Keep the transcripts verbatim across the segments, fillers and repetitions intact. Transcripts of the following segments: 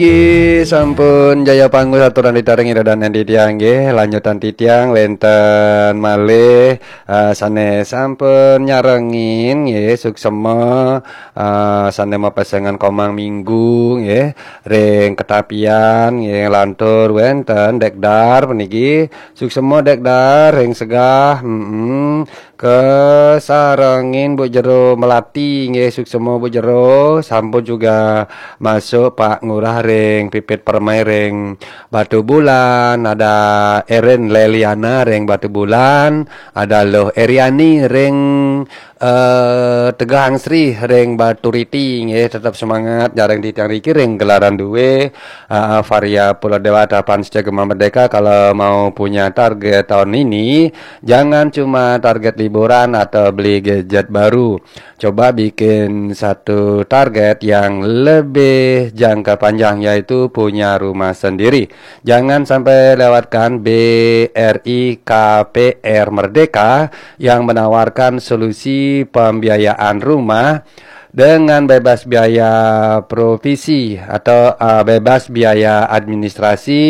Nggih, sampun Jaya Panggus aturan titiang ida dané titiang nggih. Lanjutan titiang wénten malih, eh, sané sampun nyarengin nggih, suksema, eh, sané mapesengan komang minggu nggih, ring Ketapian nggih, lantur wénten Dék Dar puniki, suksema Dék Dar ring Segah, mm-mm. Kasarengin Bu Jero Melati nggih, suksema Bu Jero, sampun juga masuk Pak Ngurah ring Pipit Permai ring Batubulan, ada Erin Leliana ring Batubulan, ada Luh Eriani ring, eh, Tegahangsri ring Baturiti nggih, tetap semangat nyarengin titiang riki ring gelaran dué, eh, Varia Pulau Dewata Panca Gema Merdeka. Kalau mau punya target tahun ini, jangan cuma target liburan atau beli gadget baru. Coba bikin satu target yang lebih jangka panjang, yaitu punya rumah sendiri. Jangan sampai lewatkan B R I K P R Merdeka yang menawarkan solusi pembiayaan rumah dengan bebas biaya provisi atau, eh, bebas biaya administrasi,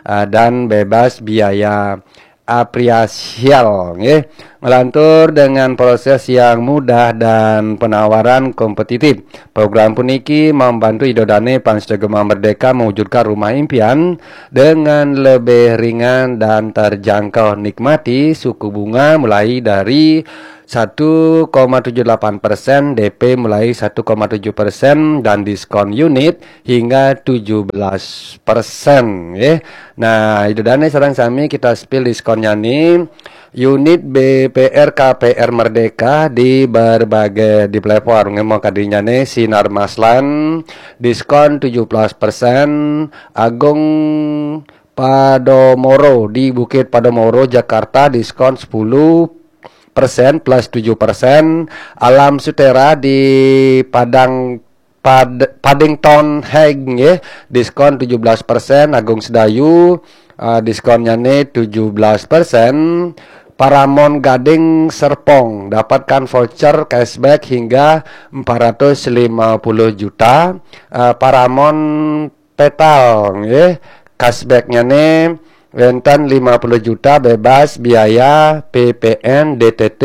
eh, dan bebas biaya apresial nggih. Ngelantur dengan proses yang mudah dan penawaran kompetitif. Program puniki membantu Ida Dané Panca Gema Merdeka mewujudkan rumah impian dengan lebih ringan dan terjangkau. Nikmati suku bunga mulai dari satu koma tujuh delapan persen, D P mulai satu koma tujuh persen, dan diskon unit hingga tujuh belas persen, nggih. Nah, Ida Dané sareng sami kita spill diskonnyané. Unit B P R K P R Merdeka di berbagai, di platform, nggih, makadinyané Sinar Maslan, diskon tujuh belas persen, Agung Podomoro di Bukit Podomoro, Jakarta, diskon sepuluh persen plus tujuh persen, Alam Sutera di Padang, Pad-, Paddington Heights nggih, diskon tujuh belas persen, Agung Sedayu, eh, diskonnyané tujuh belas persen, Paramount Gading Serpong dapatkan voucher cashback hingga empat ratus lima puluh juta, eh, Paramount Petal nggih, cashbacknyané wénten lima puluh juta bebas biaya P P N, D T T,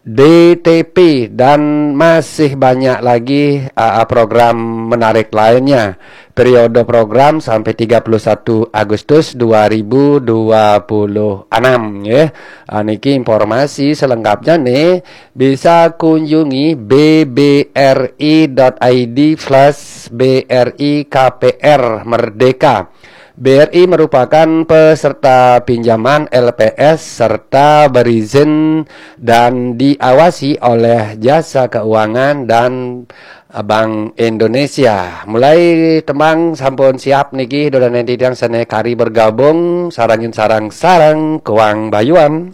D T P, dan masih banyak lagi, uh, program menarik lainnya. Periode program sampai tiga puluh satu Agustus dua ribu dua puluh enam, nggih. Uh, niki informasi selengkapnyané bisa kunjungi B B R I dot I D slash B R I K P R Merdeka. B R I merupakan peserta pinjaman L P S serta berizin dan diawasi oleh Jasa Keuangan dan Bank Indonesia. Mulai tembang sampun siap niki, Ida Dané titiang sané kari bergabung, sarengin sareng-sareng Kuang Bayuan.